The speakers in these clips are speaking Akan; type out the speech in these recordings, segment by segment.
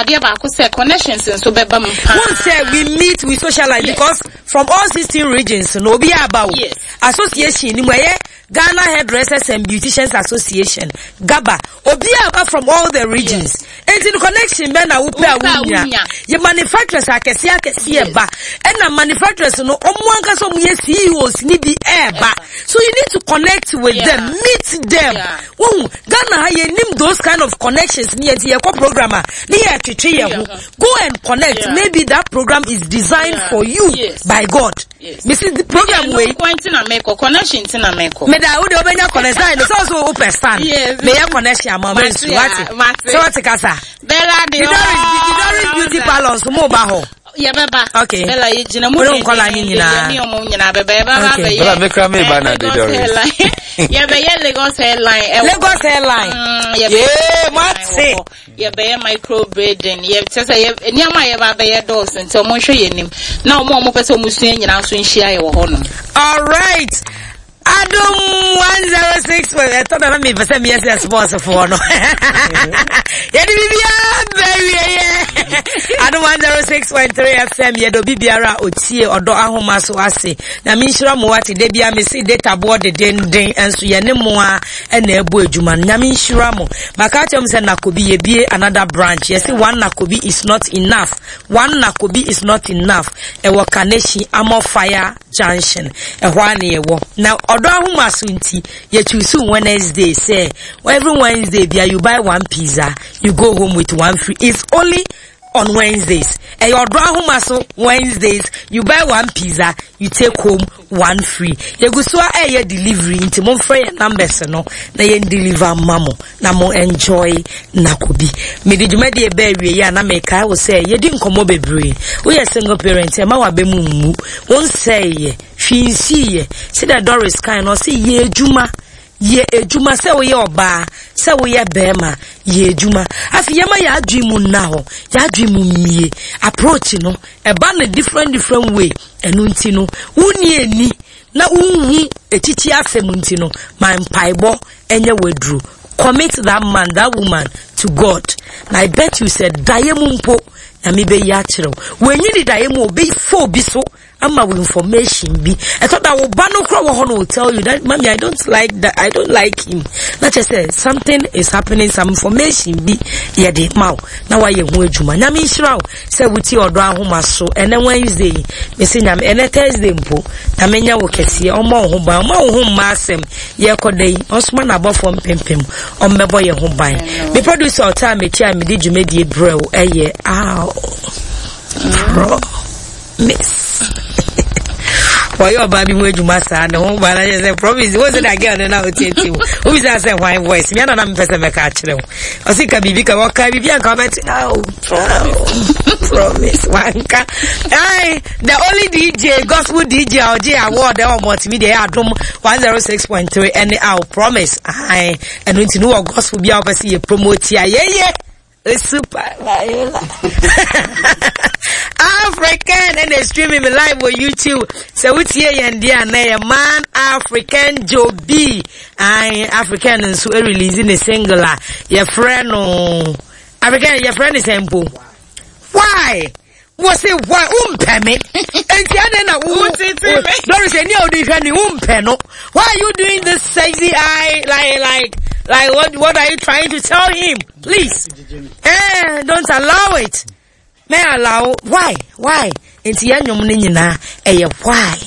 adeɛ baako sɛ connections nso bɛba mu paa. Won sɛ we meet, we socialize because from all 16 regions no obi aba o. Association ni mu ɛyɛ Ghana Hairdressers and Beauticians Association, GABA. Obi aba from all the regions. Enti no connection bɛn na wopɛ a wonya. Yɛ manufacturers akɛseɛ akɛseɛ ba. Ɛna manufacturers no ɔmo ankasa ɔmo yɛ CEOs ni bi ɛɛba. So you need to connect with them, meet them. Wohu, Ghana ha yɛnim those kind of connections ni yɛnti yɛkɔ program a ne yɛ twetwe yɛ ho. Go and connect. Maybe that program is designed for you by God. Yes. Mesi program wei. Ɛno nko nti na mekɔ connection nti na mekɔ. Meda wo de wobɛnya connection sɛ sɛ so wopɛ stand. Yes. Meyɛ connection ama me nsu wate. Mate. Sɛ wate kasa. Bella de Doris Beauty Parlor nso mo ba hɔ. Yɛbɛba. Okay. Bella yɛgyina mu. Wone nkɔla ne nyinaa. Yɛne ɔmo nyinaa bɛba yɛbɛba Okay. abɛyɛ. Bella mekura me ba na de Lagos Doris. Airline. Yɛbɛyɛ Lagos Airline. ɛwɔ- Lagos Airline. Mm, yɛbɛyɛ Yee, mate. wɔ hɔ. Yɛbɛyɛ micro braiding, yɛ kyerɛ sɛ yɛ nneɛma a yɛba abɛyɛ dɔɔso nti wɔn nhwɛ yɛn anim na wɔn a wɔpɛ sɛ wɔn sua nyinaa nso nhyia yɛ wɔ hɔnom. Alright. Adum 106 ɛtɔ da na mepɛ sɛ meyɛ sɛ sports foɔ no yɛde biribiaa bɛwieyɛ Adum 106.3 FM yɛde obi biara a ɔtie ɔdɔ ahoma so ase na menhyira mo wate da bia mese data boɔ dedenden nso yɛne mo a ɛna ɛbɔ adwuma no nyame nhyira mo maka akyerɛ mo sɛ nakobi yɛbie another branch yɛse one nakobi is not enough one nakobi is not enough ɛwɔ kaneshi amɔ fire junction ɛhɔ a na yɛwɔ na ɔdɔ ahoma so nti yɛchoose wednesday sɛ every wednesday bia you buy one pizza you go home with one free it's only on Wednesdays. Ɛyɛ ɔdɔ ahoma so Wednesdays. You buy one pizza, you take home one free. Yɛgu so a ɛyɛ delivery nti momfrɛ yɛn numbers no na yɛn deliver ma mo na mo enjoy nakobi. Mede dwumadie bɛɛ awie yi a na mekae wo sɛ yɛdi nkɔmmɔ bebree. Woyɛ single parent ɛma w'abɛ mu mmu. Wo nsɛeɛ, hwee nsiiɛ. Sɛdeɛ Doris kae no ɔse yɛ adwuma Yɛ adwuma, sɛ woyɛ ɔbaa, sɛ woyɛ bɛrima, yɛ adwuma. Afei yɛma yɛn adwene mu nna hɔ, yɛn adwene mu mmie. Approach no, ɛba no different different way. Ɛno nti no, wonni ani na wonhu akyikyi asɛm nti no, ma mpaebɔ nyɛ w'aduro. Commit that man, that woman to God. Na I bet you sɛ daeɛ mu mpo, Nyame bɛyi akyerɛ wo. Wɔnyi ne daeɛ mu, ɔbɛfa obi so ama wo information bi ɛtɔ da wo ba no kora wɔ hɔ no will tell you that mommy I don't like that I don't like him na kyerɛ sɛ something is happening some information bi yɛde ma wo na wayɛ ho adwuma nyame nhyira wo sɛ wotie ɔdɔ ahoma so ɛnɛ Wednesday yi mese nyame ɛnɛ Thursday mpo nyame nyɛ wo kɛseɛ ɔmmɔ wo ho ban ɔma wo ho mma asɛm yɛkɔ da yi ɔsoma n'abɔfoɔ mpempem ɔmmɛbɔ yɛn ho ban me producer ɔtaa m'akyi a mede dwumadie brɛ wo ɛyɛ aw pro miss wɔyɛ ɔbaa bi ho adwuma saa ne ho ba na yɛ sɛ promise wo sɛ da girl no na wotiatie wo wobisa sɛ hwan voice mea na na mepɛ sɛ mɛka akyerɛ wo ɔse ka biribi ka wɔka biribi anka wobɛte oh, promise wanka ai the only dj gospel dj a ɔgye award ɛwɔ multimedia yɛ adom 106.3 ɛne aw promise ai ɛno nti no wɔ gospel bi a wopɛ sɛ yɛ promote a yɛyɛ Super Viola. African and they streaming me live on YouTube. So what's here and there and man African Joe B. I African and so releasing a single. Your friend no African your friend is simple. Why? Wɔ se why wompɛ me nti adɛn na wo Doris ɛni a wode hwɛ ne wompɛ no why are you doing this sexy eye like like like what what are you trying to tell him please eh don't allow it may allow why why nti yɛn nnwom no nyinaa ɛyɛ why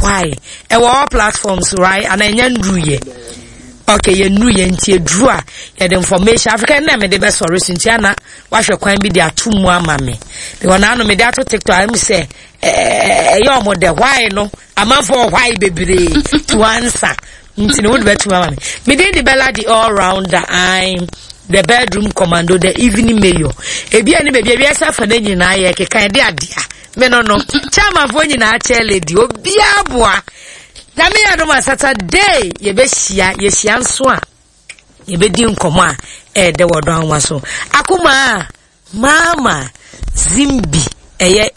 why ɛwɔ all platforms right ana ɛnyɛ nduru yɛ okay yɛn nuru yɛn nti eduru a yɛde information Africa nna mede bɛsɔre so nti ana wahwɛ kwan bi de ato mu ama me because naano mede ato tiktok ayɛ mu sɛ ɛyɛ ɔmo dɛ why no amanfoɔ why bebree to answer nti no wode bɛtumi ama me mede de bɛla the all rounder I'm the bedroom commando the evening mayor ebi a ne baabi ebi ɛsɛ afa ne nyinaa yɛ keka ɛde adea me no no chairmanfoɔ nyinaa chair lady obiara boa na me yɛ adom a saturday yɛbɛhyia yɛhyia nso a Yɛbɛdi nkɔmmɔ a ɛyɛ dɛ wɔ ɔdɔ ahoma so. Akoma a Mama Zimbi ɛyɛ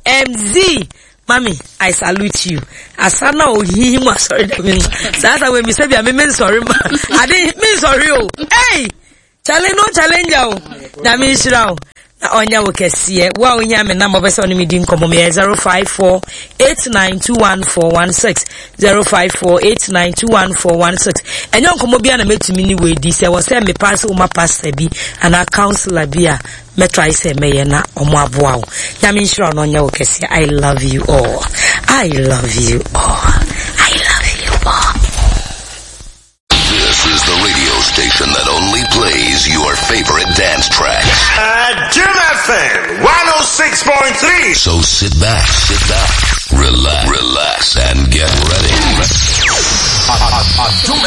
AMZ. Mami, I salute you. Asa na ohihi mu asɔre dɛm no. Saa sa wei mi sɛ bi a me me nsɔre ma. Ade me nsɔre o. Hey! Challenge no challenger o. Nyame nhyira o. Na ɔnyɛ wo kɛseɛ. Wo a wohia me number wopɛ sɛ ɔne me di nkɔmmɔ meyɛ 0548921416 0548921416 ɛnyɛ nkɔmmɔ biara na mɛtumi ne wo adi sɛ wɔ sɛ mepa sɛ woma pastor bi anaa counselor bi a mɛtrae sɛ mɛyɛ na ɔmo aboa wo. Nyame nhyira wo na ɔnyɛ wo kɛseɛ. I love you all. I love you all. I love you all. This is the radio station that only plays your favorite dance tracks. Adom FM 106.3. So sit back, sit back, relax, relax, and get ready. Adom